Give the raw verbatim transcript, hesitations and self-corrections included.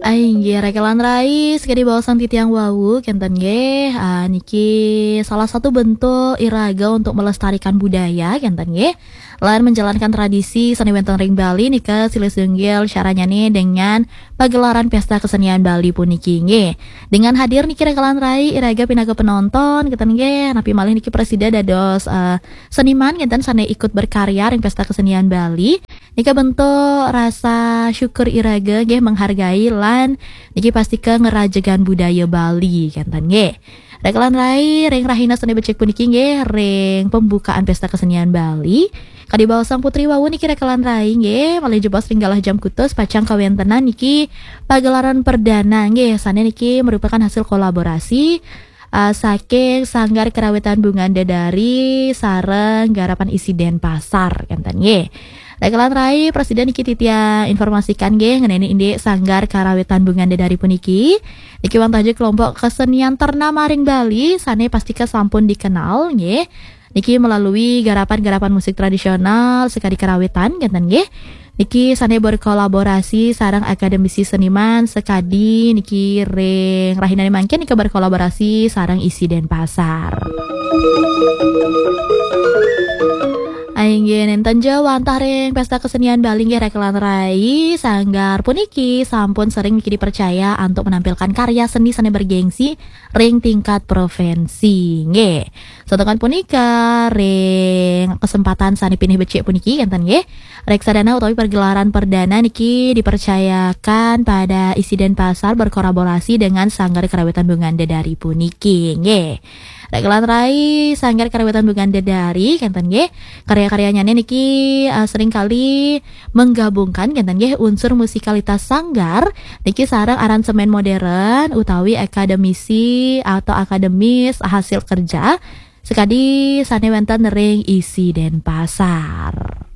Ainggih, rekelan rai, sekadi baosan titiang wau, kenten nggih. Ah, niki salah satu bentuk iraga untuk melestarikan budaya, kenten nggih. Lan menjalankan tradisi seni wenten ring Bali nika silih sinunggil caranyane dengan pagelaran Pesta Kesenian Bali puniki nggih. Dengan hadir niki rekelan rai, iraga pinaka penonton, kenten nggih. Napi malih niki prasida dados, eh, seniman kenten sane ikut berkarya ring Pesta Kesenian Bali. Nika bentuk rasa syukur iraga nggih menghargai lan niki pastika ngerajegan budaya Bali kenten nggih. Rekelan rai ring rahina sane becik puniki nggih ring pembukaan Pesta Kesenian Bali. Kadi baos Sang Putri wau niki rekelan rai nggih malih jebos ring galah jam kutus pacang kawentenan niki pagelaran perdana nggih sane niki merupakan hasil kolaborasi uh, saking Sanggar Karawitan Bungan Dedari sareng Garapan Isi Denpasar kenten nggih. Rekelan rai prasida niki titiang informasikan nggih ngeneni indik Sanggar Karawitan Bungan Dedari puniki. Niki wantah ja kelompok kesenian ternama ring Bali sane pastika sampun dikenal nggih. Niki melalui garapan-garapan musik tradisional sekadi karawitan kenten nggih. Niki sane berkolaborasi sareng akademisi seniman sekadi niki ring rahinane mangkin nika berkolaborasi sareng Isi Denpasar. Ainggih nenten ja wantah ring Pesta Kesenian Bali nggih rekelan rai sanggar puniki sampun sering niki dipercaya untuk menampilkan karya seni sane bergengsi ring tingkat provinsi nggih. Santukan punika ring kesempatan sane pinih becik puniki kenten nggih. Reksadana utawi pergelaran perdana niki dipercayakan pada Isi Denpasar berkolaborasi dengan Sanggar Karawitan Bungan Dedari puniki nggih. Rekelan rai Sanggar Karawitan Bungan Dedari kenten nggih. Karya-karyanyane niki uh, seringkali menggabungkan kenten nggih unsur musikalitas sanggar niki sareng aransemen modern utawi akademisi atau akademis hasil kerja sekadi sane wenten ring Isi Denpasar.